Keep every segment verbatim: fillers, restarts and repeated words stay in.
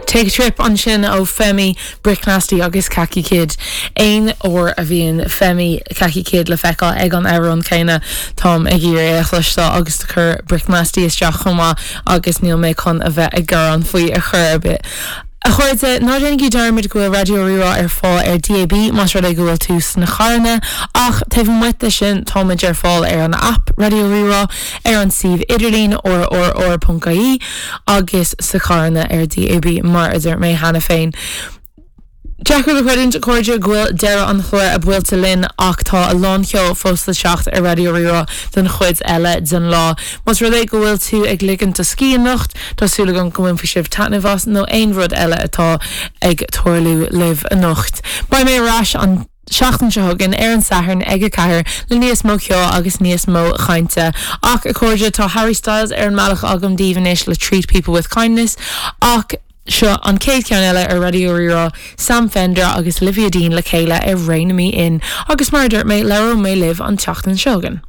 Take a Trip ansin ó Femi Brick Nasty agus Kaki Kid. Aon uair a bhíonn Femi Kaki Kid le feiceáil ag an amhrán céanna táim ag iarraidh é a chloisteáil agus chuir Brick Nasty isteach chomh maith agus níl mé chun a bheith ag gearán faoi ar chor ar bith. A chairde ná déanaigí dearmad go bhfuil Raidió Rí-Rá ar fáil ar DAB más rud é go bhfuil tú sna carranna ach taobh amuigh de sin táimid ar fáil ar an app Raidió Rí-Rá ar an suíomh idirlín rrr.ie agus sna carranna ar DAB mar a dúirt mé cheana féin. Deacair le creidiúint a chairde go bhfuil deireadh an chláir buailte linn ach tá a lán ceoil fós le teacht ar Raidió Rí-Rá den chuid eile den lá. Más rud é go bhfuil tú ag ligint do scíth anocht Tá súil agam go mbainfidh sibh taitneamh as nó aon rud eile atá ag tarlú libh anocht. Beidh mé ar ais an seachtain seo chugainn ar an Satharn ag a ceathair le níos mó ceoil agus níos mó cainte. Ach a chairde tá Harry Styles ar an mbealach agam daoibh anois le treat people with kindness ach seo an chéad cheann eile ar Raidió Rí-Rá Sam Fender agus Olivia Dean le chéile ar Rein Me In agus mar dúirt mé labhróidh mé libh an tseachtain seo chugainn.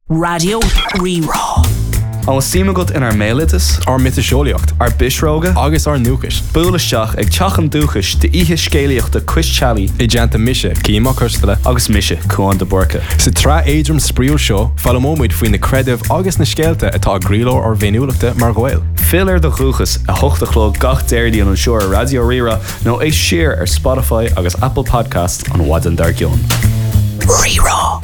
Raidió Rí-Rá. An bhfuil suim agat inár mbéaloideas, Ár miotaseolaíocht ár bpisreoga, agus ár ndúchas. Buail isteach ag Teach an Dúchais d'oíche scéalaíochta Cois Teallaigh I dteannta mise Cian Mac Coisteala agus mise Cuan de Búrca. Sa tsraith éadrom spraíúil seo foghlaimeoimid faoi na creidimh agus na scéalta atá i gcroílár ár bhféiniúlachta mar Ghaeil. Fill ar do dhúchas a hocht a chlog gach Déardaoin anseo ar Raidió Rí-Rá nó éist siar ar Spotify agus Apple Podcast an mhaidin dár gcionn. Rí-Rá.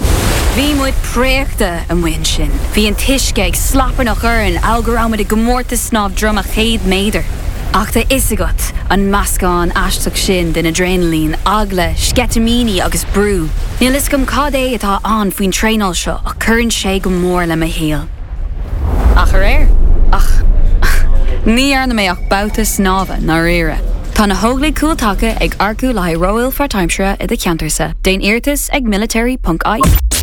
Bhí muid préachta amuigh ansin. Bhí an t-uisce ag slaparnach orainn go raibh muid i gcomórtas snámh droma céad méadar. Ach tá fhios agat an meascán aisteach sin den adrenaline, eagla, sceitimíní agus brú. Níl fhios agam cad é atá ann faoin traenáil seo ach cuireann sé go mór le mo shaol. Ach aréir ach ní dhearna mé ach babhta snámha dáiríre. Tá na hÓglaigh Cúltaca ag earcú le haghaidh ról páirtaimseartha i do cheantarsa. Déan iarratas ag military.ie.